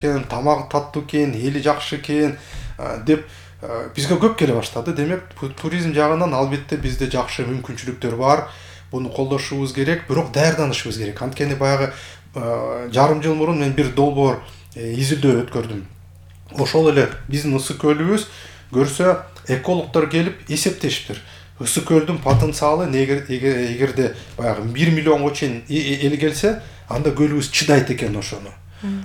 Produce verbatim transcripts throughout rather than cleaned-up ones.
экен, тамагы таттуу экен, эли жакшы экен деп бизге көп келе баштады. Демек, туризм жагынан албетте бизде жакшы мүмкүнчүлүктөр бар. Буну колдошубуз керек, бирок даярданышыбыз керек. Анткени баягы жарым жыл мурун мен бир долбоор изилдөө өткөрдүм. Ошол эле биздин ысык көлүбүз көрсө экологдор келип эсептешиптир. Ысык көлдүн потенциалы эгерде баягы бир миллионго чейин эл келсе, анда көлүбүз чыдайт экен ошону.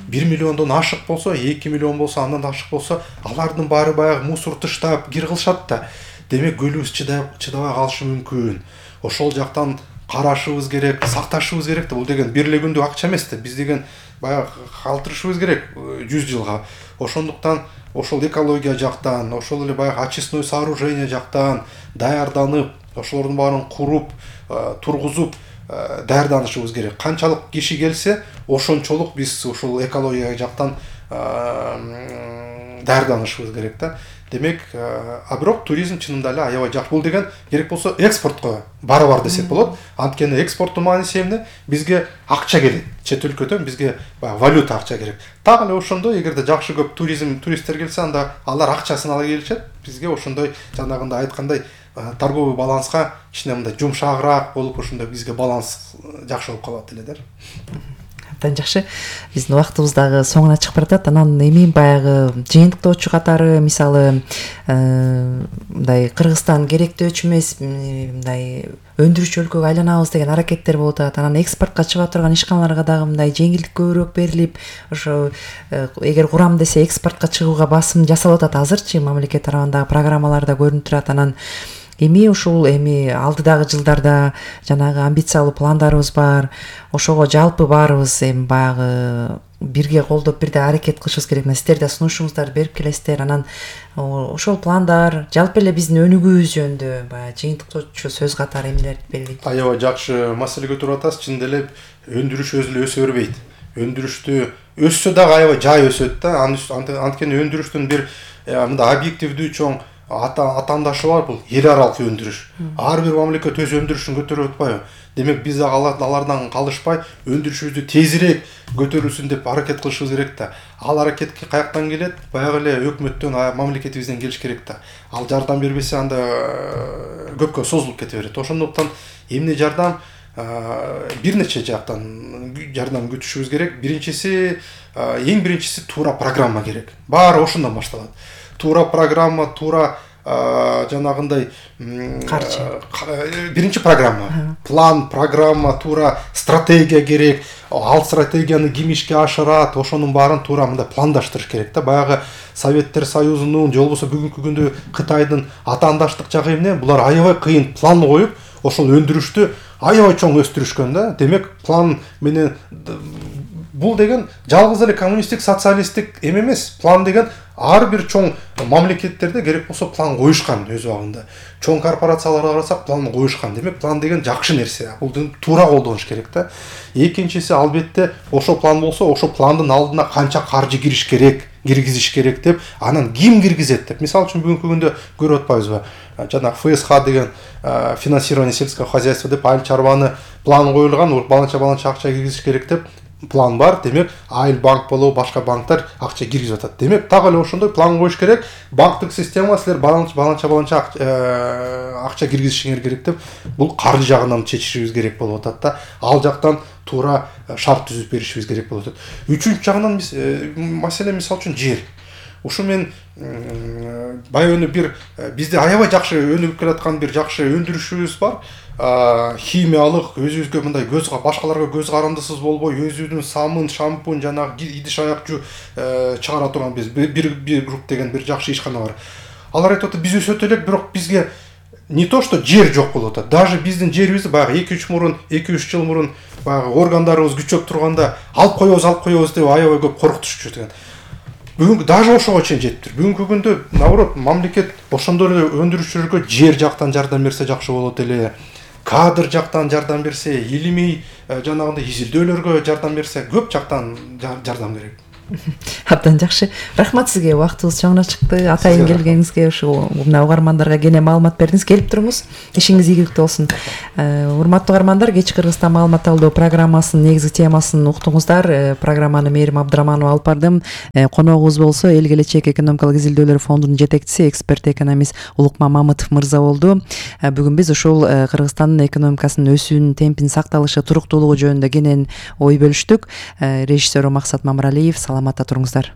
бир миллиондон ашык болсо, эки миллион болсо, андан ашык болсо, алардын баары баягы мусор таштап кир кылышат да. Демек, көлүбүз чыдабай калышы мүмкүн. Ошол жактан карашыбыз керек, сакташыбыз керек да. Бул деген бир эле күндүк акча эмес да. Биз деген баягы калтырышыбыз керек жүз жылга. Ошондуктан ошол экология жактан, ошол эле баягы очистной сооружение жактан даярданып, ошолордун баарын куруп, тургузуп даярданышыбыз керек. Канчалык киши келсе, ошончолук биз ушул экология жактан даярданышыбыз керек да. Демек, а бирок туризм чынында эле аябай жакшы. Бул деген керек болсо экспортко барабар десек болот. Анткени экспорттун мааниси эмне? Бизге акча келет. Чет өлкөдөн бизге валюта акча керек. Так эле ошондой, эгерде жакшы көп туризм туристтер келсе, анда алар акчасын ала келишет. Бизге ошондой жанагындай айткандай торговый баланска кичине мындай жумшагыраак болуп, ошондой бизге баланс жакшы болуп калат эле да. Абдан жакшы. Биздин убактыбыз дагы соңуна чыгып баратат. Анан эми баягы жыйынтыктоочу катары, мисалы, мындай Кыргызстан керектөөчү эмес, мындай өндүрүүчү өлкөгө айланабыз деген аракеттер болуп атат. Анан экспортко чыга турган ишканаларга дагы мындай жеңилдик көбүрөөк берилип, ошо эгер курам десе экспортко чыгууга басым жасалып атат. Азырчы мамлекет тарабындагы программаларда көрүнүп турат. Анан эми ушул эми алдыдагы жылдарда жанагы амбициялуу пландарыбыз бар. Ошого жалпы баарыбыз эми баягы бирге колдоп бирде аракет кылышыбыз керек. Сиздер да сунушуңуздарды берип келесиздер. Анан ошол пландар жалпы эле биздин өнүгүүбүз жөнүндө баягы жыйынтыктоочу сөз катары эмелерди белгилейт. Аябай жакшы маселе көтөрүп атасыз. Чынында эле өндүрүш өзү эле өсө бербейт. Өндүрүштү өссө дагы аябай жай өсөт да. Анткени өндүрүштүн бир мындай объективдүү чоң атаандашы бар, бул эл аралык өндүрүш. Ар бир мамлекет өз өндүрүшүн көтөрүп атпайбы? Демек, биз дагы алардан калышпай өндүрүшүбүздү тезирээк көтөрүлсүн деп аракет кылышыбыз керек да. Ал аракетке каяктан келет? Баягы эле өкмөттөн, мамлекетибизден келиш керек да. Ал жардам бербесе, анда көпкө созулуп кете берет. Ошондуктан эмне жардам? Бир нече жактан жардам күтүшүбүз керек. Биринчиси, эң биринчиси туура программа керек. Баары ошондон башталат. Туура программа, туура жанагындай карчы. Биринчи программа, план, программа, туура стратегия керек. Ал стратегияны ким ишке ашырат, ошонун баарын туура мындай пландаштырыш керек да. Баягы Советтер Союзунун, же болбосо бүгүнкү күндө Кытайдын атаандаштык жагы эмне? Булар аябай кыйын план коюп, ошол өндүрүштү аябай чоң өстүрүшкөн да. Демек, план менен бул деген жалгыз эле коммунисттик, социалисттик эме эмес. План деген ар бир чоң мамлекеттерде керек болсо план коюшкан өз убагында. Чоң корпорацияларга карасак, план коюшкан. Демек, план деген жакшы нерсе. Бул туура колдонуш керек да. Экинчиси, албетте, ошол план болсо, ошол пландын алдына канча каржы кириш керек, киргизиш керек деп, анан ким киргизет деп. Мисалы үчүн бүгүнкү күндө көрүп атпайбызбы? Жана эф эс ха деген финансирование сельского хозяйства деп айыл чарбаны план коюлган, баланча-баланча акча киргизиш керек деп план бар. Демек, айыл банк болобу, башка банктар акча киргизип атат. Демек, так эле ошондой план коюш керек. Банктык система силер баланча-баланча акча киргизишиңер керек деп, бул каржы жагынан чечишибиз керек болуп атат да. Ал жактан туура шарт түзүп беришибиз керек болуп атат. Үчүнчү жагынан маселе, мисалы үчүн жер. Ушу мен баягы бир бизде аябай жакшы өнүгүп келаткан бир жакшы өндүрүшүбүз бар. Химиялык, өзүбүзгө мындай көз башкаларга көз карандысыз болбой, өзүбүздүн самын, шампунь, жанагы идиш аякчу чыгара турган биз бир бир групп деген бир жакшы ишкана бар. Алар айтып атат, биз өсөт элек, бирок бизге не то что жер жок болуп атат. Даже биздин жерибизди баягы эки үч мурун, эки үч жыл мурун баягы органдарыбыз күчөп турганда алып коебуз, алып коебуз деп аябай көп коркутушчу экен. Бүгүн даже ошого чейин жетиптир. Бүгүнкү күндө наоборот мамлекет ошондой эле өндүрүүчүлөргө жер жактан жардам берсе жакшы болот эле. Кадр жактан жардам берсе, илимий жанагындай изилдөөлөргө жардам берсе, көп жактан жардам керек. Абдан жакшы. Рахмат сизге, убактыбыз чоңуна чыкты. Атайын келгениңизге, ушу мына угармандарга кене маалымат бердиңиз. Келип туруңуз. Ишиңиз ийгиликтүү болсун. Урматтуу угармандар, Кечки Кыргызстан маалымат алуу программасынын негизги темасын уктуңуздар. Программаны Мээрим Абдыраманова алып бардым. Коногубуз болсо Эл келечек экономикалык изилдөөлөр фондунун жетекчиси, эксперт экономист Улукман Мамытов мырза болду. Бүгүн биз ушул Кыргызстандын экономикасынын өсүүнүн темпин сакталышы, туруктуулугу жөнүндө кенен ой бөлүштүк. Режиссер Максат Мамыралиев. Саламатта туруңуздар.